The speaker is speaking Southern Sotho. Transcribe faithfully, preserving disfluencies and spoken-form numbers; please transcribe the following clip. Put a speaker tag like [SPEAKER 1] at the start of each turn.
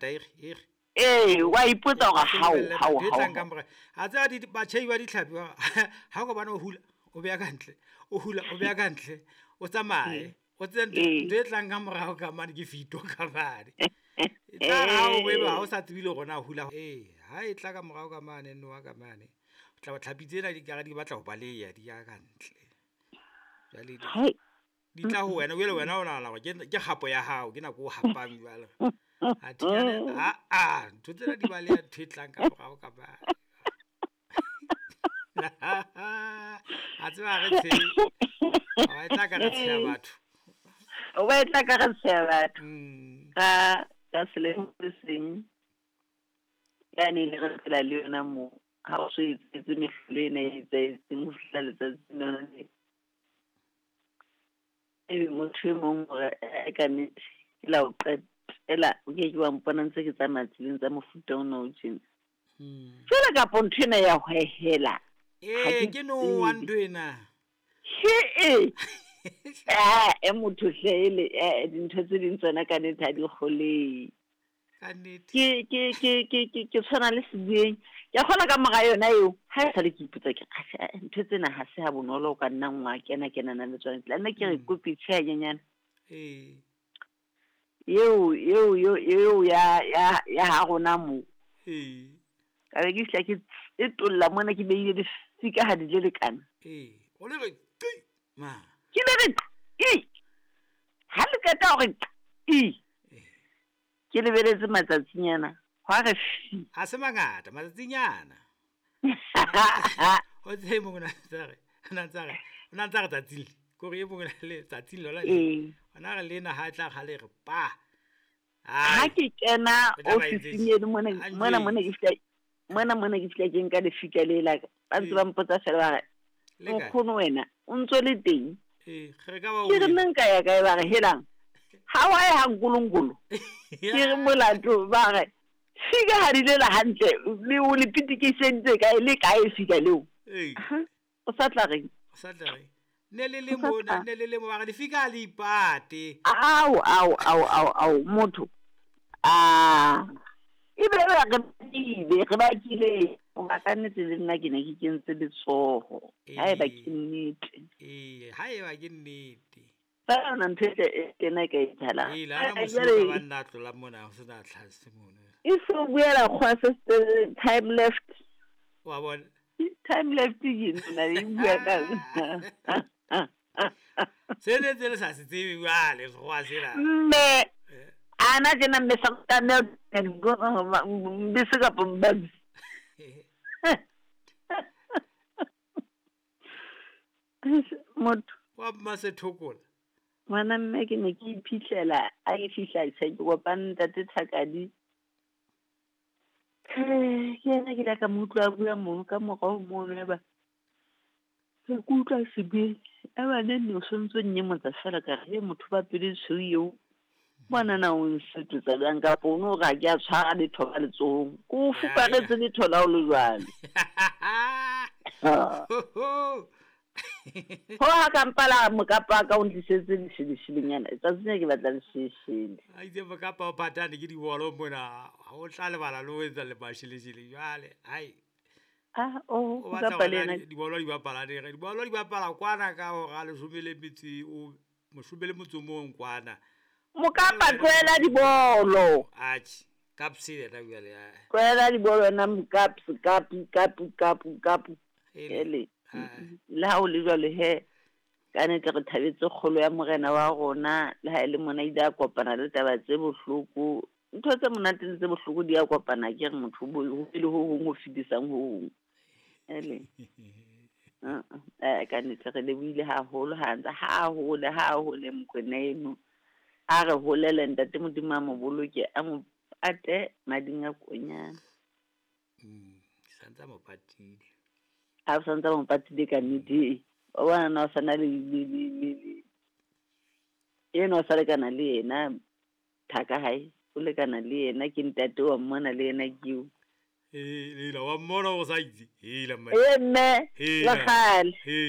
[SPEAKER 1] Ere ere.
[SPEAKER 2] Ee, wa ipotsa hore hao hao
[SPEAKER 1] Ntho e tlang ka
[SPEAKER 2] hao.
[SPEAKER 1] mora. A tseba di batjhai ba ditlhapi ba ha o ka bona o hula, o beha ka ntle, o hula, o beha ka ntle, o tsamaye. O tsebe
[SPEAKER 2] Ee.
[SPEAKER 1] ntho e tlang ka morao ka mane ke fito ka mane. E tla re ha o eba ha o sa tsebile hore na hula. Ee, ha e tla ka morao ka mane noha ka mane. O tla tlhapi tsena di kare di batla ho baleha di ya ka ntle. Jwale di
[SPEAKER 2] Hai.
[SPEAKER 1] di tla ho wena, jwale wena o nahana hore ke ke kgapo ya hao, ke nako o hapang jwale. Athe ah ah, ntho tsena di baleha ntho e tlang ka morao ka mane. A tseba ha re tshehe. E tla ka re tsheha batho.
[SPEAKER 2] O ba e tla ka re tsheha batho.
[SPEAKER 1] Mm.
[SPEAKER 2] Ka ka selemo se seng. Yane ne re phela le yona moo. Ha o so etsetse mehlolo ena e etsahetseng ho fihla letsatsing lona le. Ebe motho e mong hore eh ka nnete ke la o qetela o ke ke wa mpona ntse ke tsamaya tseleng tsa mofuta ona o tjena.
[SPEAKER 1] Mm.
[SPEAKER 2] Jwale kapo ntho ena ya hwehela. Ha
[SPEAKER 1] Ee,
[SPEAKER 2] ke
[SPEAKER 1] ke noha
[SPEAKER 2] tsebe.
[SPEAKER 1] ntho ena.
[SPEAKER 2] He-eh. Ah, e motho hle ele eh dintho tse ding tsona ka nnete ha di kgolehe.
[SPEAKER 1] Ka nnete.
[SPEAKER 2] Ke ke ke ke ke ke tshwana le sebueng. Ke a kgolwa ka mora yona eo, ha e sale ke ipotsa ke re atjhe ntho tsena ha se ha bonolo o ka nna wa kena kenana le tsona. Tla nna ke re
[SPEAKER 1] Mm.
[SPEAKER 2] kopi tjhe hanyenyane.
[SPEAKER 1] Ee.
[SPEAKER 2] Eo eo eo eo ya ya ya ha rona moo.
[SPEAKER 1] Ee.
[SPEAKER 2] Ka be ke fihla ke etolla mona ke behile lefika ha di le lekana.
[SPEAKER 1] Ee. O le re qi ma.
[SPEAKER 2] Ke le re qi. Ha le qeta hore qi. Ke lebeletse matsatsinyana. Hwa re fi.
[SPEAKER 1] Ha se mangata matsatsinyana. O tsebe mong o na ntsa re, o na ntsa re, o na ntsa re tsatsing le. Kore e mong o na le tsatsing lona le.
[SPEAKER 2] Ee.
[SPEAKER 1] Ona re lena ha e tla kgale re pa.
[SPEAKER 2] Ha
[SPEAKER 1] Ai.
[SPEAKER 2] ke kena
[SPEAKER 1] O tla ba entse
[SPEAKER 2] ofising eno mona
[SPEAKER 1] a
[SPEAKER 2] mona mona ke
[SPEAKER 1] njwetse.
[SPEAKER 2] fihla mona mona ke fihla ke nka lefika le la ka. Ba ntse
[SPEAKER 1] Ee.
[SPEAKER 2] ba mpotsa feela ba re,
[SPEAKER 1] Le kae?
[SPEAKER 2] nkgono wena o ntso le teng?
[SPEAKER 1] Ee, re ka ba
[SPEAKER 2] Ke re
[SPEAKER 1] o
[SPEAKER 2] nna nka ya kae ba re helang. Ha wa ya ha nkolonkolo. Ke re molato ba re fika ha di lela hantle le o le pitikisentse kae le kae fika leo.
[SPEAKER 1] Ee.
[SPEAKER 2] Ha o sa tla reng?
[SPEAKER 1] O sa tla reng? Ne le le
[SPEAKER 2] O sa
[SPEAKER 1] mona,
[SPEAKER 2] tla.
[SPEAKER 1] ne le le mo ba re lefika ha le ipate.
[SPEAKER 2] Ao ao ao ao ao motho. Ah. Ebe re re bakile, re bakile. Hoba ka nnete le nna ke ne ke kentse letsoho. Haeba
[SPEAKER 1] Ee.
[SPEAKER 2] ke nnete.
[SPEAKER 1] Ee, haeba ke nnete.
[SPEAKER 2] Feela yona ntho e tle e tena e ka etsahalang.
[SPEAKER 1] Ee, le hana
[SPEAKER 2] Eh,
[SPEAKER 1] mosuwe
[SPEAKER 2] jwale
[SPEAKER 1] ba nna a tlola mona ho sena tlhase mono.
[SPEAKER 2] e so buela kgwa se se time left.
[SPEAKER 1] Wa bona?
[SPEAKER 2] Time left ke nna e bua ka.
[SPEAKER 1] Se ne ntse le sa se tsebe jwale sekgowa sena.
[SPEAKER 2] Mme
[SPEAKER 1] Eh.
[SPEAKER 2] ana tjena mme sa tlameha bese kapa mbabi. Motho
[SPEAKER 1] Wa Mmasethokola.
[SPEAKER 2] ngwana mme ke ne ke iphitlhela a ke fihla tjhe ke kopane ntate Thakadi. Eh, ke yena ke ile ka mo utlwa a bua mono ka morao mono eba. Ke utlwa sebueng. Eba ne nne o sontso nnyemotsa feela ka re motho ba pelo e tshweu eo. Bona na o nsetotsa bjang kapa o no re ha ke a tshwara letho ka letsohong. Ke o fuparetse letho la ho le jwalo. Ho ha ka mpa la mokapa wa ka o ntlisetse lesheleshelenyana. Tsatsing lena ke batla lesheleshele.
[SPEAKER 1] A itse mokapa o phatane ke dibolo mona, ha o tla lebala le ho etsa le masheleshele jwale. Ai.
[SPEAKER 2] Ah, oh,
[SPEAKER 1] O batla
[SPEAKER 2] mokapa le
[SPEAKER 1] hore na
[SPEAKER 2] yena.
[SPEAKER 1] dibolo di bapala neng? Dibolo di bapala kwana ka hora leshome le metso o leshome le motso o mong kwana.
[SPEAKER 2] Mokapa tlohela dibolo.
[SPEAKER 1] Atjhe, Kaps yena jwale ah.
[SPEAKER 2] Tlohela dibolo wena mokaps kapu kapu kapu kapu.
[SPEAKER 1] Ele.
[SPEAKER 2] Ele.
[SPEAKER 1] Ah.
[SPEAKER 2] Le ha o le jwalo he ka nnete re thabetse kgolo ya morena wa rona le ha e le mona ile a kopana le taba tse bohloko. Ntho tse monate le tse bohloko di a kopana ke re motho bo ho be le ho hong ho fetisang ho hong. Ele. Uh, eh ka nnete re lebohile haholo ha ntse ha hole ha hole Mokoena eno. A re holele ntate Modimo a mo boloke a mo pate mading a konyana.
[SPEAKER 1] Mm, santsa mo patile.
[SPEAKER 2] Ha o santsa mo patile ka nnete. Wa bona na o sana le le le le le. Eno o sa lekana le yena thaka hae. O lekana le yena ke ntate wa mmona le yena ke eo.
[SPEAKER 1] Eh, lela wa mmona o sa itse. Hela mma.
[SPEAKER 2] Eh mme,
[SPEAKER 1] Hela.
[SPEAKER 2] le kgale.
[SPEAKER 1] He.